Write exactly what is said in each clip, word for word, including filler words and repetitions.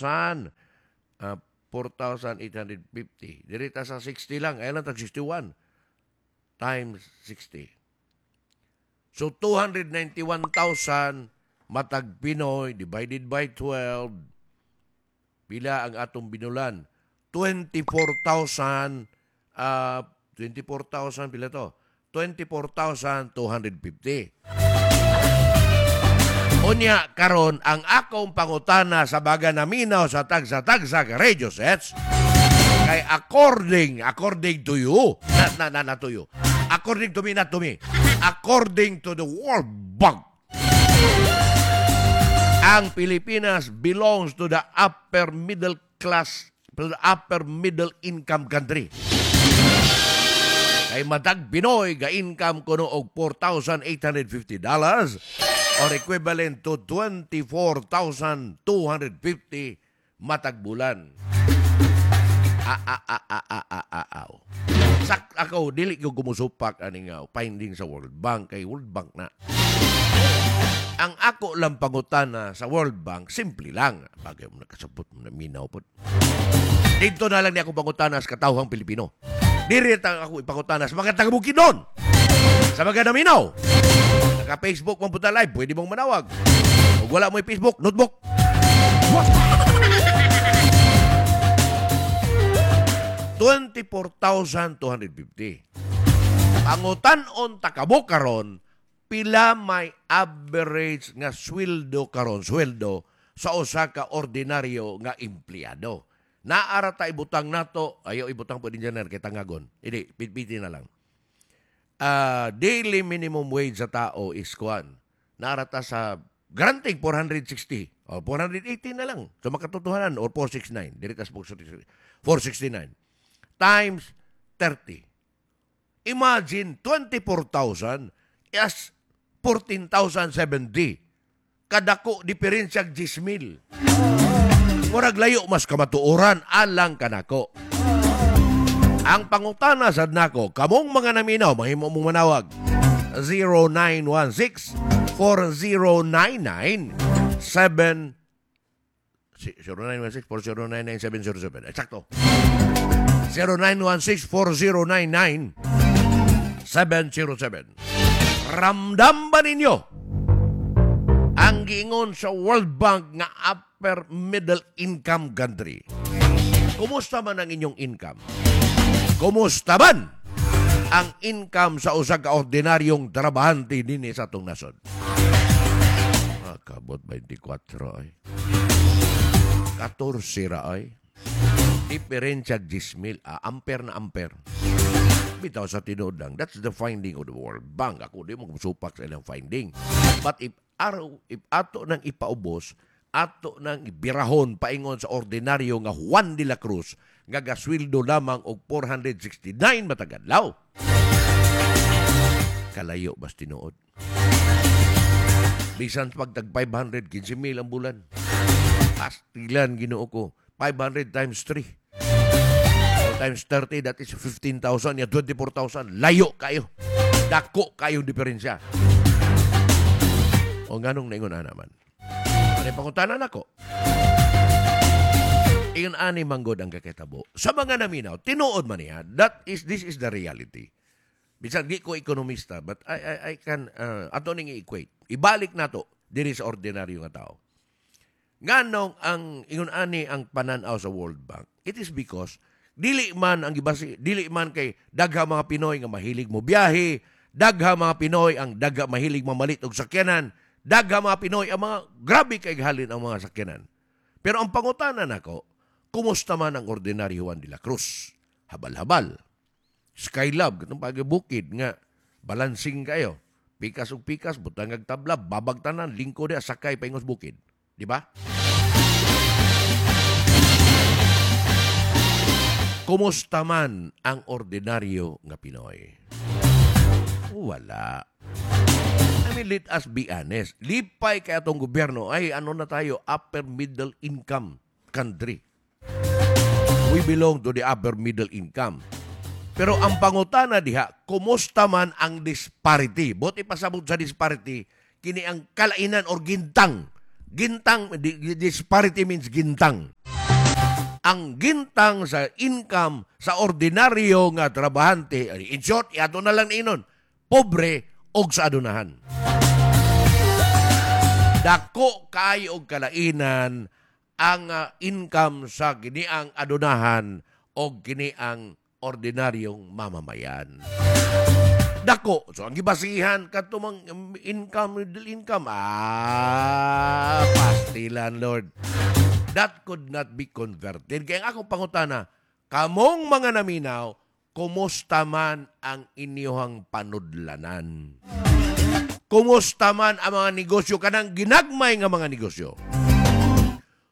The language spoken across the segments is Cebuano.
uh, four thousand eight hundred fifty. Diri ta sa sixty lang. Ay lang tag sixty-one times sixty. So two hundred ninety-one thousand matag Pinoy divided by twelve, pila ang atong binulan? twenty-four thousand, uh, twenty-four thousand, pila to? twenty-four thousand two hundred fifty. Unya karon, ang akong pangutana sa baga naminaw sa tagsa-tagsa ka radio sets kay according according to you, not not not, not to you, according to me, not to me, according to the World Bank, ang Pilipinas belongs to the upper middle class, to the upper middle income country. Kay matag Pinoy ga income kuno og four thousand eight hundred fifty dollars or equivalent to twenty-four thousand two hundred fifty matag bulan. Ah, ah, ah, ah, ah, ah, ah, ah. Sak ako dili ko gumusupak ani nga finding sa World Bank kay World Bank na. Ang ako lang pangutana sa World Bank, simple lang. Bagay mo nakasabot mo na minaw pod. Dito na lang ni ako pangutana sa katawhang Pilipino. Diri ta ako ipangutana sa mga taga-Bukidnon. Sa mga naminaw. Naka-Facebook man punta live, pwede mong manawag. Kung wala mo Facebook, notebook. twenty-four thousand two hundred fifty. Pangutan-on ta kamo karon, pila may average nga sweldo karon, sweldo sa usa ka ordinaryo nga empleyado? Naara ta ibutang nato, ayo ibutang po din dyan kay tangagon. Hindi, pitpiti na lang. Ah, daily minimum wage sa tao is kuan. Naara ta sa granting four hundred sixty o four hundred eighty na lang. So makatotohanan or four sixty-nine. Diri tas four sixty-nine times thirty. Imagine twenty-four thousand as fourteen thousand seventy. Kadako diferensya ten thousand. Murag layo mas kamatuoran alang kanako. Ang pangutana sad nako, kamong mga naminaw, mahimo mong manawag. zero nine one six, four zero nine nine, seven zero nine one six, four zero nine nine, seven zero seven. Eksakto. zero nine one six, four zero nine nine, seven zero seven. Ramdam ba ninyo ang giingon sa World Bank nga upper middle income country? Kumusta man ang inyong income? Kumusta man ang income sa usa ka ordinaryong trabahante dinhi sa atong nasod? Ah, kabot twenty-four ay. fourteen ra ay. Diferensya ten thousand, ah, ampere na ampere. Bitaw sa tinuod lang, that's the finding of the World Bank. Ako di mo supak sa ilang finding. But if araw, if ato nang ipaubos, ato nang ibirahon paingon sa ordinaryo nga Juan de la Cruz nga gasweldo lamang og four hundred sixty-nine matag adlaw. Kalayo bas tinuod. Bisan pag tag five hundred, fifteen mil ang bulan. Pastilan, Ginoo ko. five hundred times three times thirty, that is fifteen thousand, ya twenty-four thousand. Layo kayo. Dako kayo diferensya. O nganong naingon ana man? Ano yung pangutana nako? Ingon ani manggod ang kakitabo. Sa mga naminaw, tinuod man niya, that is, this is the reality. Bisan di ko ekonomista, but I, I, I can, uh, ato ning i-equate. Ibalik nato diri sa ordinaryo nga tao. Nganong ang ingon ani ang pananaw sa World Bank? It is because dili man ang gibasi, dili man kay dagha mga Pinoy nga mahilig mo biyahe, dagha mga Pinoy ang dagha mahilig mamalit og sakyanan, dagha mga Pinoy ang mga grabe kay halin ang mga sakyanan. Pero ang pangutana nako, kumusta man ang ordinaryo Juan de la Cruz? Habal-habal. Skylab, katong pagibukid nga balancing kayo. Pikas og pikas, butang ag tabla, babag tanan, lingko di sakay paingos bukid. Di ba? Kumusta man ang ordinaryo nga Pinoy? Wala. I mean, let us be honest. Lipay kay atong gobyerno ay ano na tayo, upper middle income country. We belong to the upper middle income. Pero ang pangutana diha, kumusta man ang disparity? Buti pasabot sa disparity, kini ang kalainan or gintang Gintang, di- disparity means gintang. Ang gintang sa income sa ordinaryo nga trabahante, in short, ato na lang inon, pobre og sa adunahan. Dako kaayo og kalainan ang ah, income sa kiniang adunahan o kiniang ordinaryong mamamayan. Dako. So, ang gibasihan kadto mang um, income, middle income, ah, pastilan, Lord. That could not be converted. Kaya ang akong pangutana, kamong mga naminaw, kumusta man ang inyong panudlanan? Kumusta man ang mga negosyo kanang ginagmay nga mga negosyo?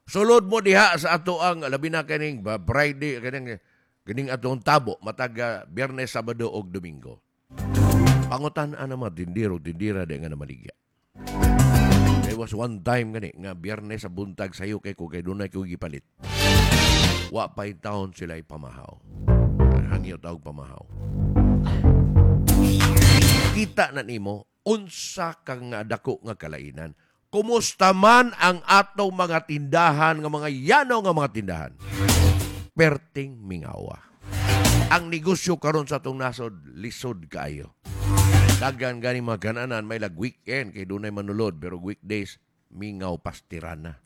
Sulod mo diha sa ato ang labi na kaning ba, Friday, kaning kining atong tabo matag ah, Biyernes, Sabado ug Domingo. Pangutan ana mga tindero, tindira di nga namaligya. There was one time gani nga Biyernes sa buntag sayo kay ko kay dunay ko gipalit. Wa pa taon sila ipamahaw. Hangyo tawag pamahaw. Kita na nimo unsa ka nga dako nga kalainan. Kumusta man ang atong mga tindahan nga mga yano nga mga tindahan? Perting mingawa. Ang negosyo karon sa atong nasod lisod kaayo. Daghan gani mga gananan may lag weekend kay dunay manulod pero weekdays mingaw pastirana.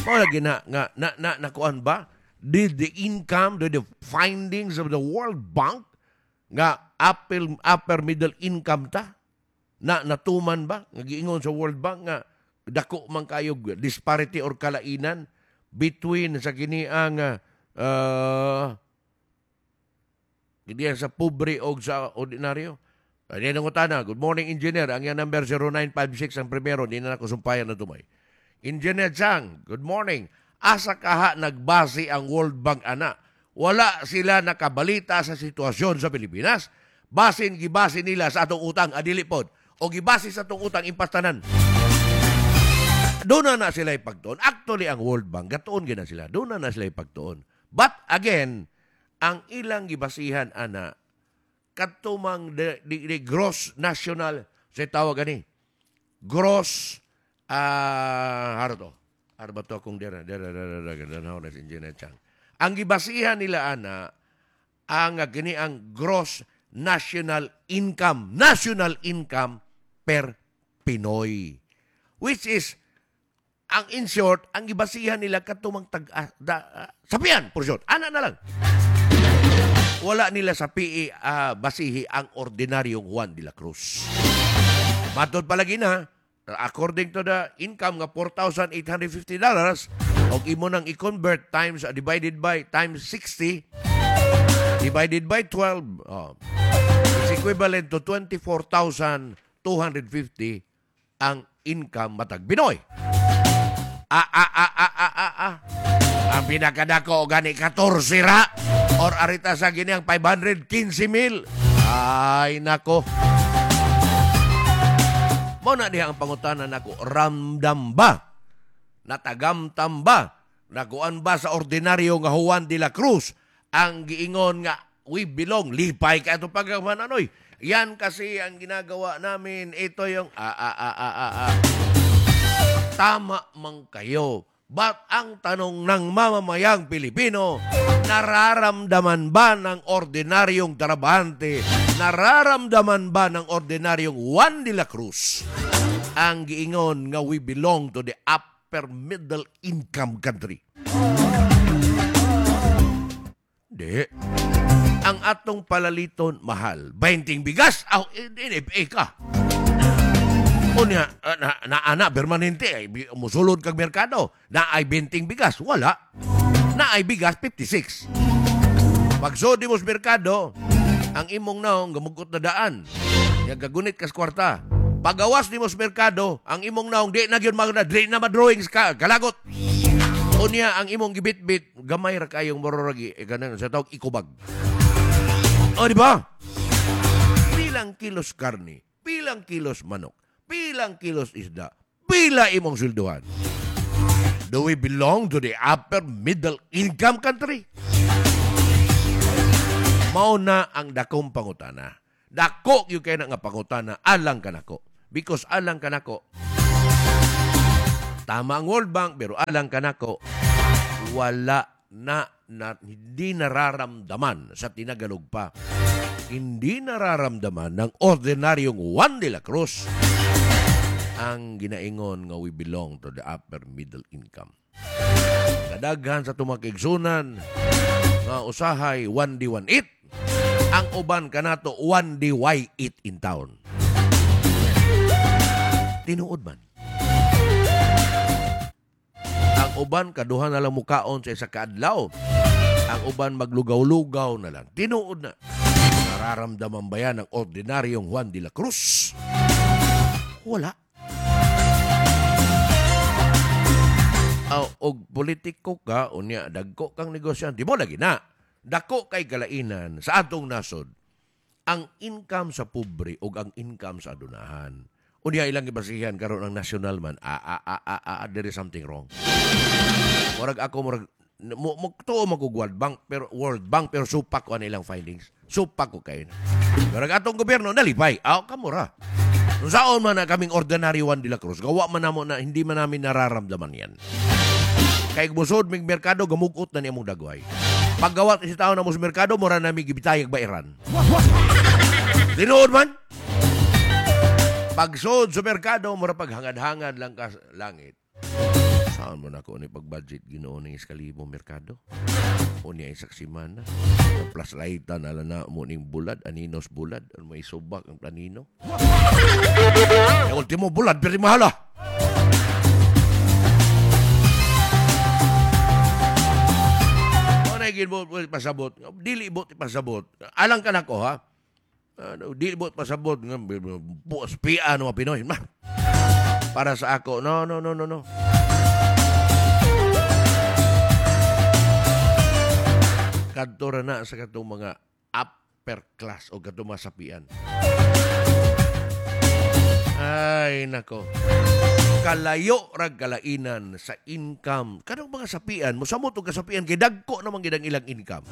Mao lagi na nga na na nakuan ba? Did the income, did the findings of the World Bank nga upper, upper middle income ta? Na natuman ba? Nga giingon sa World Bank nga dako man kayo disparity or kalainan between sa kini ang uh, kini sa pobre og sa ordinaryo. Ani nang utana, good morning, engineer. Ang iyang number zero nine five six ang primero, di na nako sumpayan na tumay. Engineer Chang, good morning. Asa kaha nagbase ang World Bank ana? Wala sila nakabalita sa sitwasyon sa Pilipinas. Basin gibase nila sa atong utang, adili pod. O gibase sa atong utang impastanan. Doon na na sila ipagtuon. Actually, ang World Bank, gatuon gina sila. Doon na na sila ipagtuon. But again, ang ilang gibasihan ana, katumang the, the, the gross national, sa tawag ani, gross, ah, uh, haro to, haro ba to akong dira, dira, dira, dira, dira, dira, si Engineer Chang. Ang gibasihan nila ana, ang gini ang gross national income, national income per Pinoy. Which is, ang in short, ang gibasihan nila katumang tag uh, da, uh, sapian, for short. Ana na lang. Wala nila sa P E uh, basihi ang ordinaryong Juan de la Cruz. Matod palagi na, according to the income nga four thousand eight hundred fifty dollars og imo nang i-convert times uh, divided by times sixty divided by twelve, oh, is equivalent to twenty-four thousand two hundred fifty ang income matag Pinoy. Ah, ah, ah, ah, ah, ah, ah. Ang pinakadako gani fourteen ra or arita sa gini ang five hundred fifteen mil. Ay nako. Mo na diha ang pangutana nako, ramdam ba? Natagamtam ba? Nakuan ba sa ordinaryo nga Juan de la Cruz ang giingon nga we belong, lipay ka ito pagkamananoy. Yan kasi ang ginagawa namin. Ito yung ah, ah, ah, ah, ah, ah. Tama man kayo. But ang tanong ng mamamayang Pilipino, nararamdaman ba ng ordinaryong trabahante, nararamdaman ba ng ordinaryong Juan de la Cruz ang giingon nga we belong to the upper middle income country? Di. Ang atong palaliton mahal. twenty bigas, aw, eh, eh, eh, ka. Unya, na, na, ana, permanente, ay, musulod kag merkado. Na ay twenty bigas, wala. Na ay bigas, fifty-six. Pag mo sa merkado, ang imong naong gamugot na daan. Yang gagunit kas kwarta. Pagawas nimo sa merkado, ang imong naong di na gyud mag di na madrawings ka, kalagot. Unya ang imong gibitbit, gamay ra kayong mororagi, eh, ganun sa tawag ikubag. O, di ba? Pilang kilos karne, pilang kilos manok, pilang kilos isda, pila imong swelduhan? Do we belong to the upper middle income country? Mao na ang dakong pangutana. Dako yung kay na nga pangutana alang kanako. Because alang kanako, Tama ang World Bank, pero alang kanako, wala na, na hindi nararamdaman sa tinagalog pa. Hindi nararamdaman ng ordinaryong Juan de la Cruz ang ginaingon nga we belong to the upper middle income. Kadaghan sa tumakigsunan nga usahay one D one eight, ang uban kanato one D Y eight in town. Tinuod man. Ang uban kaduha na lang mukaon sa isa kaadlaw. Ang uban maglugaw-lugaw na lang. Tinuod na. Nararamdaman ba yan ng ordinaryong Juan de la Cruz? Wala. Aw, og politiko ka, unya, dagko kang negosyante. Di mo lagi na. Dako kay kalainan sa atong nasod ang income sa pobre og ang income sa adunahan. Unya ilang gibasihan karon ang national man. Ah, ah, ah, ah, ah, there is something wrong. Murag ako, murag, mo, mo, tuo mag World Bank, pero World Bank, pero supak ko ang ilang findings. Supak ko kayo. Murag atong gobyerno, nalipay. Aw, kamura. Nung saon man na kaming ordinary Juan de la Cruz, gawa man namo na hindi man namin nararamdaman yan. Kay busod mig merkado, gamugot na niya mong dagway. Paggawa si tao na mo sa merkado, mura nami gibitayag bairan. Tinuod man? Pagsod sa merkado, mura paghangad-hangad lang ka langit. Saan mo na ako ni pag-budget Ginoo ng iskalibo merkado? O niya isak simana. Plus lightan, ala na mo ning bulad, aninos bulad, ano may subak ang planino. Yung ultimo bulad, pero mahal ah. O na mo pasabot, dili mo pasabot. Alang ka na ko ha? Ano, dili mo pasabot nga spia no Pinoy. Ma. Para sa ako, no no no no no. Kadto ra na sa katong mga upper class o katong mga sapian. Ay nako. Kalayo rag kalainan sa income. Kanang mga sapian, mosamot og kasapian kay dagko naman gid ang ilang income.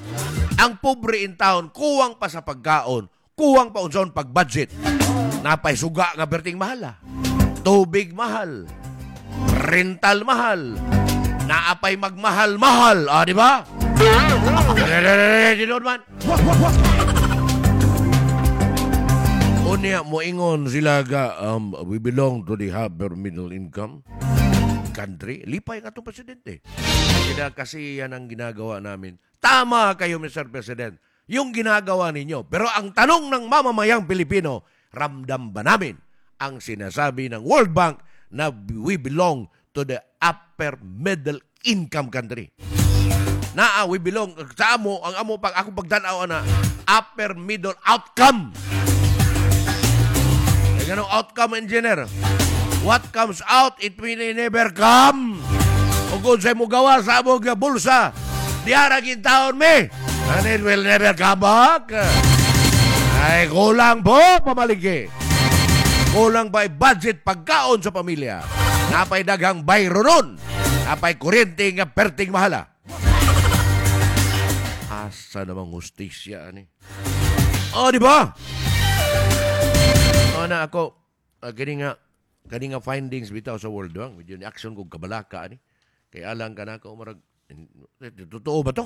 Ang pobre in town kuwang pa sa pagkaon, kuwang pa unsaon pag-budget. Napay suga nga berting mahal. Ah. Tubig mahal. Rental mahal. Naapay magmahal-mahal. Ah, di ba? Tinuod man. Unya moingon sila ga um, we belong to the upper middle income country. Lipay nga itong presidente. Kaya kasi yan ang ginagawa namin. Tama kayo, Mister President. Yung ginagawa ninyo. Pero ang tanong ng mamamayang Pilipino, ramdam ba namin ang sinasabi ng World Bank na we belong to the upper middle income country? Naa, we belong sa amo, ang amo pag ako pagtan-aw na upper middle outcome. Kaya ganun outcome, engineer. What comes out, it will never come. O kung sa'yo mo gawa sa amo nga bulsa, diara gintaon me. And it will never come back. Ay, kulang po, pamalingki. Kulang pa budget pagkaon sa pamilya. Napay daghang bayro nun. Napay kuryente nga perting mahala. Asa namang hustisya ani. Oh, di ba? Oh, na ako uh, kini nga kani nga findings bitaw sa World Bank medyo ni action kog kabalaka ani. Kay alang kanako marag totoo ba to?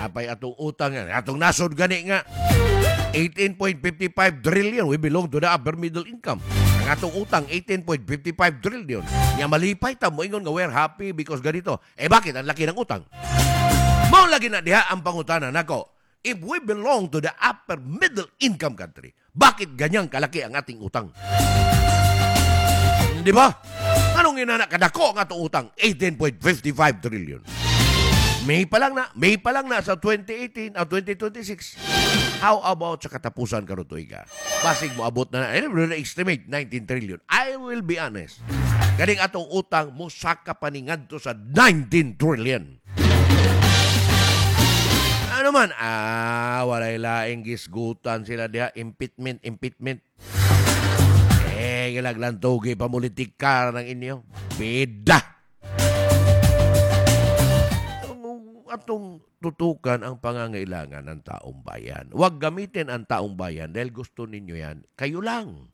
Napay atong utang atong nasod gani nga eighteen point five five trillion. We belong to the upper middle income. Ang atong utang eighteen point five five trillion. Nya malipay ta mo ingon nga we're happy because ganito. Eh bakit ang laki ng utang? Mao lagi na diha ang pangutana nako. If we belong to the upper middle income country, bakit ganyang kalaki ang ating utang? Di ba? Anong inana kadako ang atong utang? eighteen point five five trillion. May pa lang na, May pa lang na sa twenty eighteen at twenty twenty-six. How about sa katapusan karon tuiga? Basig mo abot na, eh, estimate nineteen trillion. I will be honest. Ganing atong utang mosaka pa ni ngadto sa nineteen trillion. Ano man? Ah, walay laing gisgutan sila diha. Impeachment, impeachment. Eh, gilaglantugi pamulitika ng inyo. Bida! Atong tutukan ang pangangailangan ng taong bayan. Huwag gamitin ang taong bayan dahil gusto ninyo yan. Kayo lang.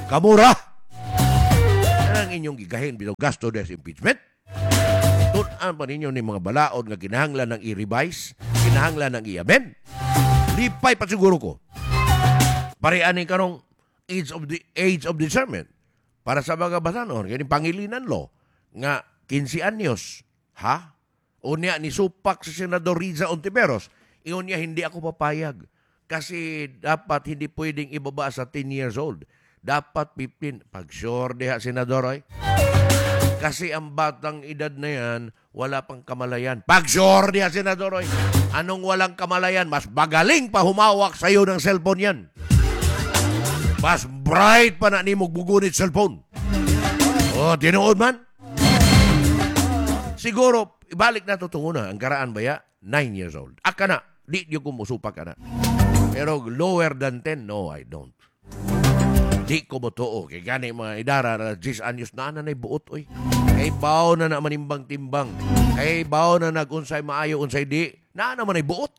Kamura! Ang inyong gigahin bitaw gasto des impeachment. Tun-an pa ninyo ni mga balaod nga kinahanglan ng i-revise, kinahanglan ng i-amend. Lipay pa siguro ko. Pare ani karong age of the age of discernment para sa mga batanon kini Pangilinan law nga kinse anyos, ha? Unya ni supak si Senador Risa Hontiveros. Ingon niya, "Hindi ako papayag kasi dapat hindi pwedeng ibaba sa ten years old. Dapat fifteen" Pag sure diha, Senador, ay. Kasi ang batang edad na yan, wala pang kamalayan. Pag sure diha, Senador, oy. Anong walang kamalayan? Mas magaling pa humawak sa'yo ng cellphone yan. Mas bright pa na nimo bugunit cellphone. Oh, tinuod man. Siguro, ibalik na to tunguna. Ang karaan ba ya? nine years old. Aka na. Di di ko musupak ka na. Pero lower than ten, no, I don't. Di ko motuo. Kay gani mga idara na ten anyos na na buot, oy. Kay baw na na manimbang-timbang. Kay baw na nagunsay maayo, unsay di. Na naman ay buot.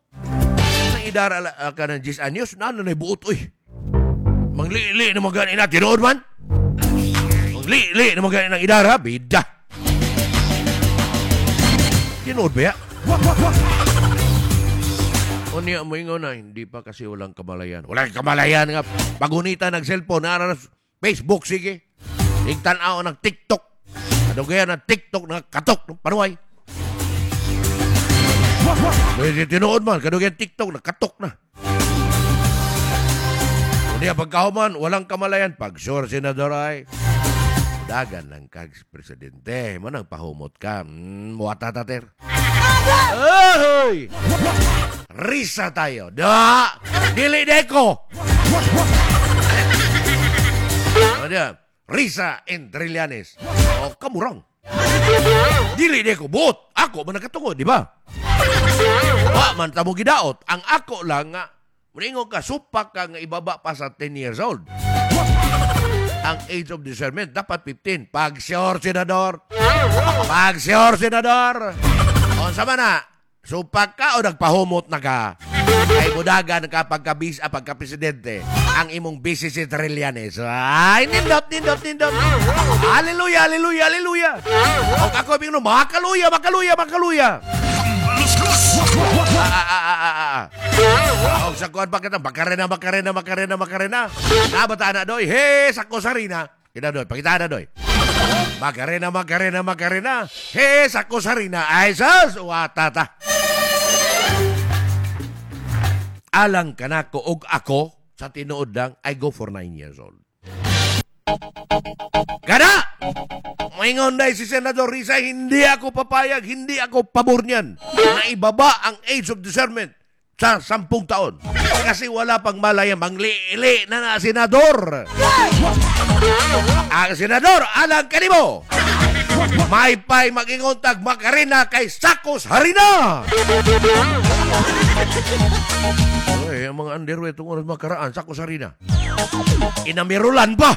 Sa idara uh, ka ng ten anyos, na na buot, oy. Manglili na magani na, tinuod man. Manglili na magani ng idara, bida. Tinuod ba ya? Unya mo ingon na, hindi pa kasi, walang kamalayan. Walang kamalayan nga. Pagunita ng cellphone, nara na Facebook, sige. Igtanaw ng TikTok. Ano kaya ng TikTok na katok ng panuay? Pwede tinuod man, kadugayan TikTok na katok na. Unya pagkahuman, walang kamalayan. Pag sure, Senador, ay, dagan lang kag presidente. Manang pahumot ka. Mm, muwata tater. Ahoy! Risa tayo. Da! Dili deko! Ano dia? Risa and Trillanes. O, kamurang. Dili deko. Buot. Ako man nakatungod, di ba? Wa man tamo gidaot. Ang ako lang nga, muningon ka, supak ka nga ibaba pa sa ten years old. Ang age of discernment, dapat fifteen. Pag sure, Senador. Pag sure, Senador. O, sama na, supak ka o nagpahumot na ka? Ay mudagan ka pagka-bis, ah, pagka-presidente. Ang imong busy si Trillanes. Ay, nindot, nindot, nindot. Hallelujah, hallelujah, hallelujah. O ako, bingno, makaluya, makaluya, makaluya. Ah, ah, ah, ah, ah, ah. O sa kuan pa kita, Makarena, Makarena, Makarena, Makarena. Nabata na doy, he, sako sarina. Kita doy, pakita na doy. Makarena, Makarena, Makarena. He, sako sarina. Ay, sus, watata. Alang kanako og ako, sa tinuod lang, I go for nine years old. Kana! Maingon dahil si Senador Risa, "Hindi ako papayag, hindi ako pabor niyan na ibaba ang age of discernment sa sampung taon. Kasi wala pang malaya, manglili na na, senador." Ang senador, alang kanimo. May pay mag-ingon tag Makarena kay sakos harina. Uy, ang mga underwear itong oras makaraan, sakos harina. Inamirulan pa!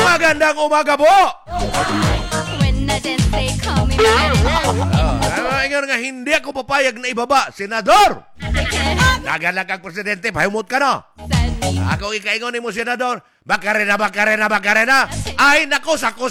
Magandang umaga po! When I dance, they call me Macarena. Ah, ingon nga, "Hindi ako papayag na ibaba. Senador!" They can't Dagan lang kang presidente, pahumot ka na. send me. Ako ikaingon ni mo, Senador, Makarena, Makarena, Makarena. Ay, nako, sako.